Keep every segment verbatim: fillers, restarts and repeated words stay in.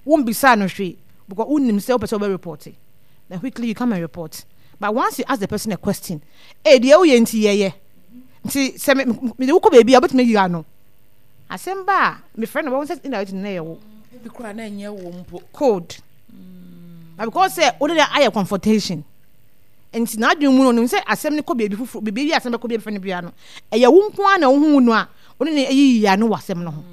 Wombisa no hwee because wonim sɛ wopɛ sɛ wobɛ report, then quickly you come and report. But once you ask the person a question, eh, deɛ woyɛ nti yɛyɛ nti sɛ mede wokɔ baabi a wobɛtumi ayi ano asɛm ba a mefrɛ no, wɔn sɛ indirect no na ɛyɛ wo. Bi koraa na ɛnyɛ wo mpo. Code, but because sɛ wode de ayɛ confrontation nti, n'adwene mu no, onim sɛ asɛm no kɔ baabi foforɔ, baabi bi asɛm bɛkɔ bi fɛ no bia no, ɛyɛ wo nko ara na wohu no a wone ne ayiyi ano wɔ asɛm no ho,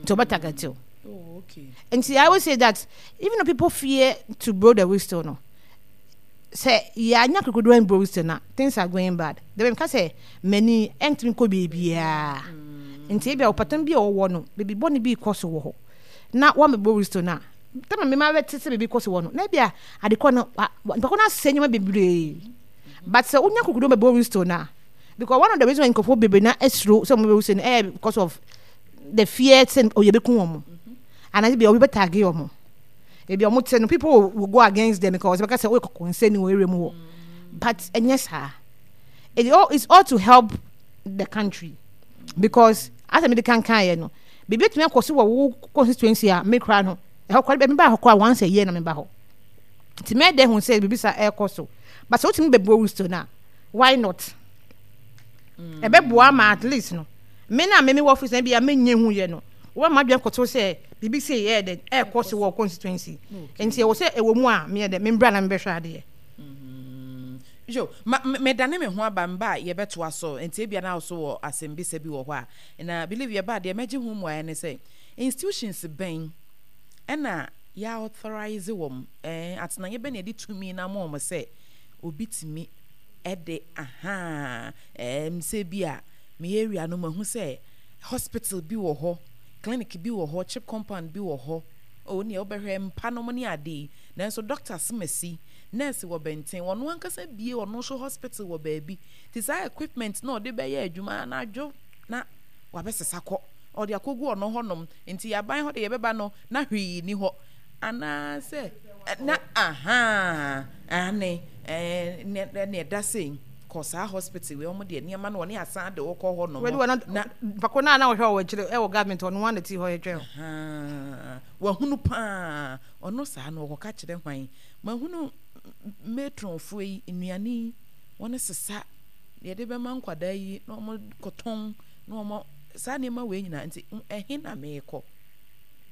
nti ɔbɛ target wo. Oh, okay. Nti I always say that even though people fear to blow the whistle no, sɛ yɛanya kokodo and blow whistle na things are going bad. Then meka sɛ mani ɛntumi kɔ baabiara, nti ebi a ɔpɔtɔn bi a ɔwɔ no baabi bɔne bi kɔ so wɔ hɔ na wɔn blow whistle na tɛmɛ mmɛma bɛte sɛ biribi kɔ so wɔ no na ebi a adekɔ no nipa ko no asɛ nneɛma bebree. But sɛ wonya kokodo bɛ blow whistle na, because one of the reasons why nkurɔfoɔ bebree na esuro sɛ wɔn bɛ whistle no ɛyɛ because of the fear sɛ ɔyɛ bɛku wɔn anaasɛ bi a obi bɛ tag wɔn. Ebi a wɔn te no, people will, will go against them because bɛka sɛ ɔyɛ kɔkɔ nsɛn wɔ area mu hɔ, but ɛnyɛ saa. it all it's all to help the country because asɛ mi de kankan yɛ no, biribi etumi akɔ so wɔ wo constituency a me kora no ɛhɔ kora mi ba hɔ kora once a year na mi ba hɔ, nti mɛ dɛ ho sɛ biribi sa ɛkɔ so. But sɛ wotumi bɛ blow whistle na why not? Ɛbɛboa ma at least no me na me me wɔ office na bi a me nye hu yɛ no, wɔn ma adwene kɔtɔ sɛ biribi sɛ yɛ dɛ ɛkɔ so wɔ constituency, nti ɛwɔ sɛ ɛwɔ mu a meyɛ dɛ membra na mebɛhwɛ adeɛ. Yo, ma medane me ho aba mba a yɛbɛtoa so, nti ebia na so wɔ asɛmbisa bi wɔ hɔ a na believe yɛba deɛ mɛgye ho mmuaeɛ ne sɛ institutions bɛn ɛna yɛ authorize wɔn, ɛɛ atenaeɛ bɛn na yɛde tumi na ama wɔn sɛ obi tumi ɛde aha ɛɛm sɛ bi a me area no mahu sɛ hospital bi wɔ hɔ, clinic bi wɔ hɔ, CHPS compound bi wɔ hɔ o, nea wobɛhwɛ mpa nom ne ade yi, nanso doctor semasi nurse wɔ bɛnten, ɔno ankasa bie ɔno nso hospital wɔ baabi te saa equipment na ɔde bɛyɛ adwuma anadwo na wabɛsesa kɔ ɔde akɔgu ɔno hɔnom, nti aban hɔ de yɛbɛba no na hwee ni hɔ anaasɛ na aha ane ɛɛ ne ɛda sei kɔ saa hospital wei, wɔn deɛ nneɛma no wɔne asan de wɔkɔ hɔ nom. Na pako naa na wɔhwɛ wɔ akyire ɛwɔ government ɔno wɔn na ti hɔ yɛtwɛn. Wahunu paa ɔno saa no ɔkɔka kyerɛ hwan? Mahunu matronfoɔ yi nnuane yi wɔn sesa yɛde bɛma nkwadaa yi na wɔn kɔtɔn na wɔn saa nneɛma wei nyinaa, nti ɛhe na meekɔ?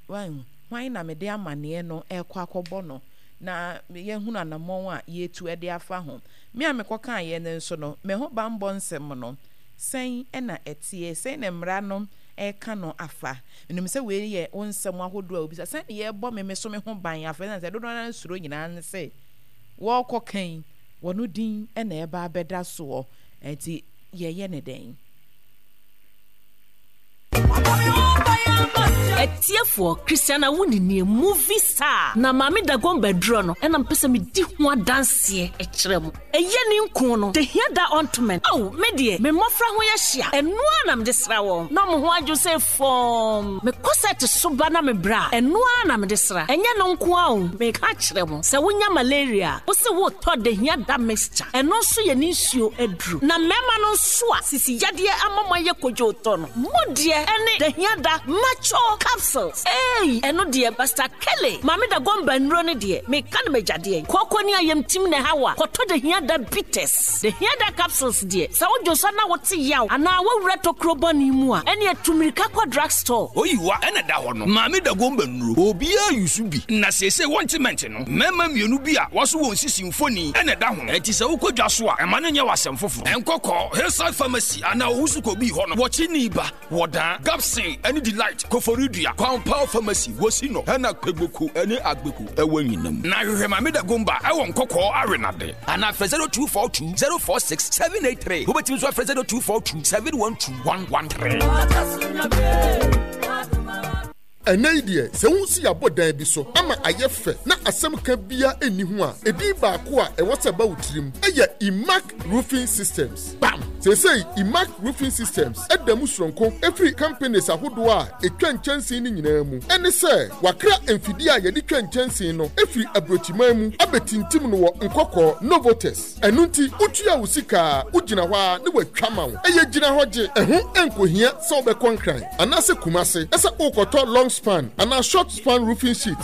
Hwan hwan na mede amanneɛ no ɛkɔ akɔbɔ no na yɛhunu anammɔn a yɛtu de afa ho? Me a mekɔkaeɛ no nso no, me ho bammɔ nsɛm no sɛn ɛna ɛteɛ? Sɛn na mmara no ɛka no afa? Menim sɛ wei yɛ wo nsɛm ahodoɔ a wobisa sɛn ne yɛbɔ me me so me ho ban afa, ɛsiane sɛ dodoɔ no suro nyinaa ne sɛ wɔrekɔ kan wɔno din ɛna ɛba abɛda soɔ, nti yɛyɛ ne dɛn? Atiefoɔ, Christiana wo ninie movie star na Maame Dagomba aduro no ɛna mpɛ sɛ medi ho adanseɛ ɛkyerɛ mo. Ɛyɛ ne nko no de hia da ointment. Ao, me deɛ me mmɔfra ho yɛ hyia, ɛno a na mede sra wɔn na ɔmo ho adwo sɛ fɔm. Mekɔ sɛ te so ba na mebrɛ a, ɛno a na mede sra. Ɛnyɛ no nko a o, meka kyerɛ mo sɛ wonya malaria, wo se wotɔ de hia da mixture, ɛno nso yɛ ne nsuo aduro. Na mmarima no nso a sisi yadeɛ ama mo ayɛ kodwo tɔ no mo deɛ ɛne de hia da macho capsules. Ei, ɛno deɛ Basta Kele Maame da gɔmba nnuro no deɛ meka no magyadeɛ kɔkɔ ne ayamtim na ɛha wa kɔtɔ de hia da bitters, de hia da capsules deɛ sɛ wodwo nsa na wote yaw anaa woawura tokuro bɔne mu a, ɛne atumirika kɔ drug store. Oyiwa ɛna da hɔ no, Maame da gɔmba nnuro obiara yusu bi na seesei wɔnte mɛnte no mmarima mmienu bi a wɔso wɔn sisi mfoni ɛna ɛda ho, ɛnti sɛ wokɔ dwa so a, ɛma no nyɛ w'asɛm foforɔ. Ɛnkɔkɔ Hillside Pharmacy anaa Owusu kɔbii hɔ no wɔkye ni ba wɔdaa Gapsin ɛne Delight Koforidua Kwampaw Pharmacy wɔsi no ɛna Kpegboko ɛne Agbeko ɛwɔ nyinam na hwehwɛ Maame da gomba ɛwɔ Nkɔkɔɔ Awenade anaa frɛ zero two four two zero four six seven eight three. Wobɛtumi nso afrɛ zero two four two seven one two one one three. Ɛnɛ yi deɛ, sɛ wo si abɔ dan bi so ama ayɛ fɛ na asɛm ka bia ɛnni ho a, ɛdin baako a ɛwɔ sɛ ɛba wo tirim ɛyɛ Imac Roofing Systems. Bam! Seesei Imac Roofing Systems ɛda mu soronko ɛfiri companies ahodoɔ a ɛtwa nkyɛnsee no nyinaa mu. Ɛne sɛ wakra mfidie a yɛde twa nkyɛnsee no ɛfiri aburokyiman mu abɛtintim no wɔ Nkɔkɔɔ Novotes. Ɛno nti wotua wo sika a, wogyina hɔ a ne watwa ma wo. Ɛyɛ gyina hɔ gye, ɛho nkohia sɛ wobɛkɔ Nkran anaasɛ Kumase ɛsɛ wokɔtɔ long span anaa short span roofing sheet.